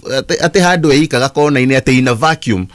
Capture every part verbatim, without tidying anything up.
atĩ atĩ handũ eikaga kona-inĩ atĩ in a vacuum.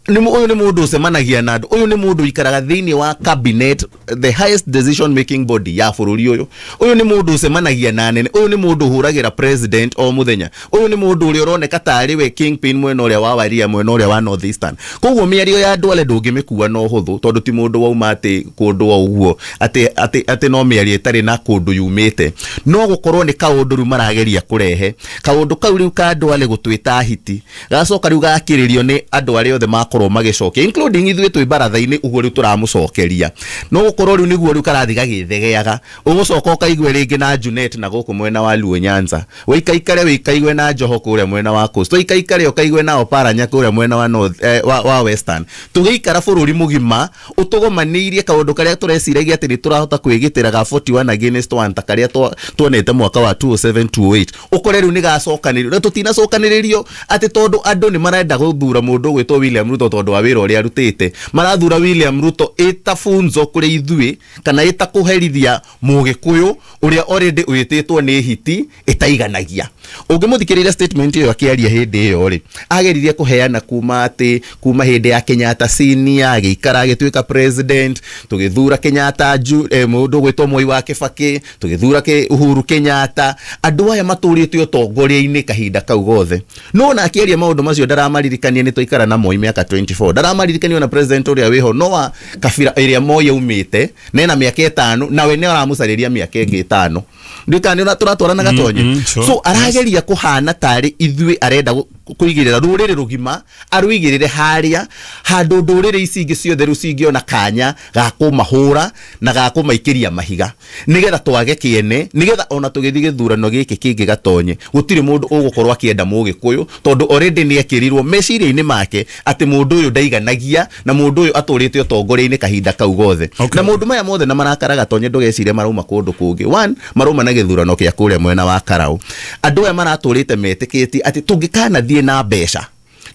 Nĩ mũ- ũyũ nĩ mũndũ ũcemanagia na andũ, ũyũ nĩ mũndũ ũikaraga thĩinĩ wa cabinet, the highest decision making body ya bũrũri ũyũ. Ũyũ nĩ mũndũ ũcemanagia na anene, ũyũ nĩ mũndũ ũhũragĩra president o mũthenya, ũyũ nĩ mũndũ ũrĩa ũroneka tarĩ we kingpin mwena ũrĩa wa Waria, mwena ũrĩa wa North Eastern. Koguo mĩario ya Duale ndũngĩmĩkua na ũhũthũ, tondũ ti mũndũ wauma atĩ kũndũ o ũguo, atĩ atĩ atĩ no mĩario ĩtarĩ na kũndũ yumĩte. No gũkorwo nĩ kaũndũ rĩu marageria kũrehe, kaũndũ kau rĩu ka Duale gũtwĩta hiti, gacoka rĩu gakĩrĩrio nĩ andũ arĩa othe makorwo magĩcokia, including ithuĩ twĩ baratha-inĩ ũguo rĩu tũramũcokeria. No gũkorwo rĩu nĩguo rĩu karathi gagĩthegeaga, ũgũcoka ũkaigue rĩngĩ na Junet na gũkũ mwena wa Luo Nyanza, wĩikaikare wĩkaigue na Joho kũrĩa mwena wa Coast, wĩikaikare ũkaigue na Oparanya kũrĩa mwena wa North, eh, wa, wa Western. Tũgĩikara bũrũri mũgima ũtũgomanĩirie kaũndũ karĩa tũreciragia atĩ nĩ tũrahota kwĩgitĩra ga forty-one against one, ta karĩa twa- tuonete mwaka wa two oh seven two oh eight, ũkore rĩu nĩ gacokanĩrĩrio na tũtinacokanĩrĩrio atĩ tondũ andũ nĩ marenda gũthura mũndũ ũgwĩtwo William Ruto tondũ wa wĩra ũrĩa arutĩte. Marathura William Ruto ĩta funzo kũrĩ ithuĩ, kana ĩta kũherithia mũgĩkũyũ ũrĩa already wĩtĩtwo nĩ hiti ĩtaiganagia. Ũngĩmũthikĩrĩria statement ĩyo akĩaria hĩndĩ ĩyo rĩ, ageririe kũheana kuma atĩ kuma hĩndĩ ya Kenyatta senior agĩikara agĩtuĩka president, tũgĩthura Kenyatta ju, eh, mũndũ ũgwĩtwo Moi wa Kibaki, tũgĩthura Ke- Uhuru Kenyatta, andũ aya matũrĩte ũtongoria-inĩ kahinda kau gothe. No ona akĩaria maũndũ macio ndaramaririkania nĩ twaikara na Moi mĩaka mĩrongo ĩĩrĩ na ĩna, ndaramaririkania ona president ũrĩa wĩho no wa kabira ĩrĩa Moi aumĩte nena mĩaka ĩtano, nawe nĩ aramũcarĩria mĩaka ĩngĩ ĩtano. Ndikani tũratwarana, Gatonye? mm, sure. So arageria kũhana tarĩ ithuĩ arenda gũ- kũigĩrĩra rũrĩrĩ rũgima, arũigĩrĩre harĩa handũ ndũrĩrĩ ici ingĩ ciothe rĩu cingĩona kanya ga kũmahũra na ga kũmaikĩria mahiga, nĩgetha twage kĩene, nĩgetha ona tũgĩthiĩ gĩthurano gĩkĩ kĩngĩ, Gatonye, gũtirĩ mũndũ ũgũkorwo akĩenda mũgĩkũyũ, tondũ already nĩ ekĩrirwo meciria-inĩ make atĩ mũndũ ũyũ ndaiganagia na mũndũ ũyũ atũrĩte ũtongoria-inĩ kahinda kau gothe. Okay. Na maũndũ maya mothe na marakara, Gatonye, ndũgecirie marauma kũndũ kũngĩ. One, marauma na gĩthurano kĩa kũrĩa mwena wa Karau. Andũ aya maratũrĩte metĩkĩtie atĩ tũngĩkanathiĩ na mbeca,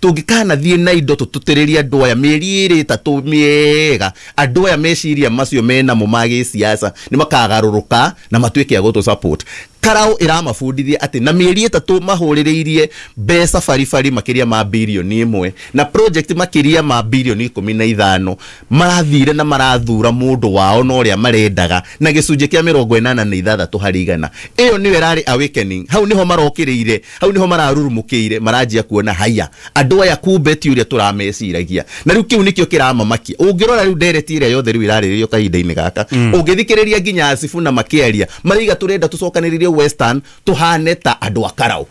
tũngĩkanathiĩ na indo, tũtũtĩrĩrie andũ aya mĩeri ĩrĩ ĩtatũ mĩega, andũ aya meciria macio menamo ma gĩsiasa nĩ makagarũrũka na matuĩke a gũtũ support. Karau ĩramabundithia atĩ na mĩeri ĩtatũ mahũrĩrĩirie mbeca baribari makĩria ma birioni ĩmwe na project makĩria ma birioni ikũmi na ithano, marathire na marathura mũndũ wao na ũrĩa marendaga na gĩcunjĩ kĩa mĩrongo ĩnana na ithathatũ harĩ igana. Ĩyo nĩyo ĩrarĩ awakening. Hau nĩho marokĩrĩire, hau nĩho mararurumũkĩire, maranjia kuona haya andũ aya kumbe ti ũrĩa tũrameciragia. Na rĩu kĩu nĩkĩo kĩramamakia. Ũngĩrora rĩu ndereti ĩrĩa yothe rĩu ĩrarĩrĩrio kahinda-inĩ gaka, ũngĩthikĩrĩria nginya Sifuna makĩaria, maraiga tũrenda tũcokanĩrĩrie Western tũhane ta andũ a Karau,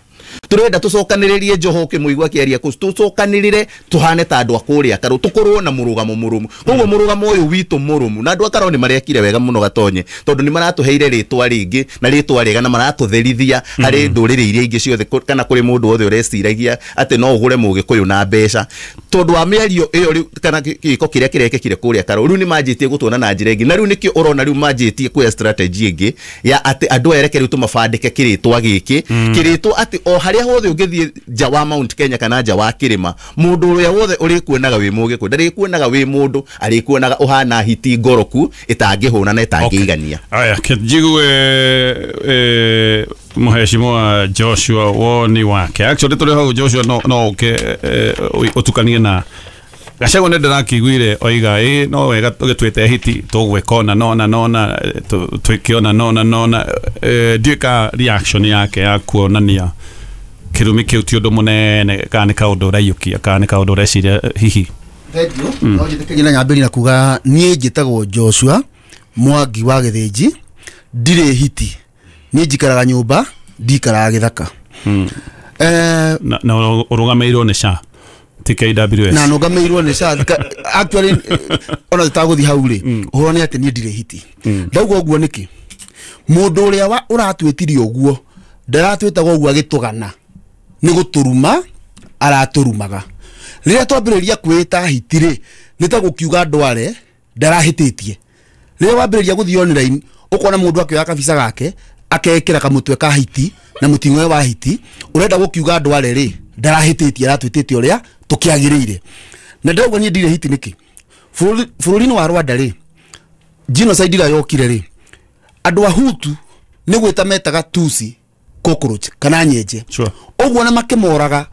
turenda tucokanĩrĩrie Joho, ũkĩmũigua akĩaria kũ tũcokanĩrĩre tũhane ta andũ a kũrĩa Karau, tũkorwo na mũrũgamo mũrũmu. Koguo mũrũgamo ũyũ witũ mũrũmu na andũ a Karau nĩ marekire wega mũno, Gatonye, tondũ nĩ maratũheire rĩtwa rĩngĩ na rĩtwa rĩega na maratũtherithia harĩ ndũrĩrĩ iria ingĩ ciothe, kũ- kana kũrĩ mũndũ wothe ũreciragia atĩ no ũgũre mũgĩkũyũ na mbeca, tondũ wa mĩario ĩyo rĩu kana gĩ- gĩko kĩrĩa kĩrekĩkire kũrĩa Karau. Rĩu nĩ manjĩtie gũtuona na njĩra ĩngĩ, na rĩu nĩkĩo ũrona rĩu manjĩtie kuoya strategy ĩngĩ ya atĩ andũ aya reke rĩu tũmabandĩke kĩrĩtwa gĩkĩ, kĩrĩtwa atĩ o harĩa hothe ũngĩthiĩ nja wa Mount Kenya kana nja wa kĩrĩma, mũndũ ũrĩa wothe ũrĩkuonaga wĩ mũgĩkũyũ ndarĩkuonaga wĩ mũndũ, arĩkuonaga ũhana hiti ngoroku ĩtangĩhũna na ĩtangĩigania. Aya, njigue eh, mũheshimiwa Joshua woni wake. Actually tũrĩ hau, Joshua, no no ũke eh, ũtukanie na Gachagua. Nĩ ndĩrakĩiguire oiga ĩ no wega tũgĩtuĩte hiti tũgwĩka ona nona nona eh, tũ- twĩke ona nona nona. eh, ndiũĩ ka reaction yake ya kuonania kĩrumi kĩu ti ũndũ mũnene, kana nĩ kaũndũ ũraiyũkia, kana nĩ kaũndũ ũreciria eh, hihi. Thank you. No njĩtĩkĩrie na nyambĩrĩrie na kuga niĩ njĩtagwo Joshua Mwangi wa Gĩthĩnji, ndirĩ hiti, niĩ njikaraga nyũmba, ndikaraga gĩthaka. Eh, na na ũrũgamĩrĩirwo nĩ S H A ti K W S. Na nũgamĩirwo nĩ S H A. Ka- actually eh, ona tũtagũthiĩ hau rĩ, ũhoro nĩ atĩ niĩ ndirĩ hiti. Ndauga ũguo nĩkĩ? Mũndũ ũrĩa wa- ũratwĩtire ũguo ndaratwĩtaga ũguo agĩtũgana, nĩ gũtũruma aratũrumaga. Rĩrĩa twambĩrĩria kwĩta hiti rĩ, nĩ ta gũkiuga ndware ndarahĩtĩtie. Rĩrĩa wambĩrĩria gũthiĩ online, ũkona mũndũ akĩoya kabica gake akekĩra kamũtwe ka hiti na mũting'oe wa hiti, ũrenda gũkiuga ndware rĩ ndarahĩtĩtie, aratwĩtĩte ũrĩa tũkĩagĩrĩire. Na ndĩrauga niĩ ndirĩ hiti nĩkĩ? Bũrũri- bũrũri-inĩ wa Rwanda rĩ, genocide ĩrĩa yokire rĩ, andũ a Hutu nĩ gwĩta metaga Tusi cockroach kana nyenje. Sure. Ũguo na makĩmoraga.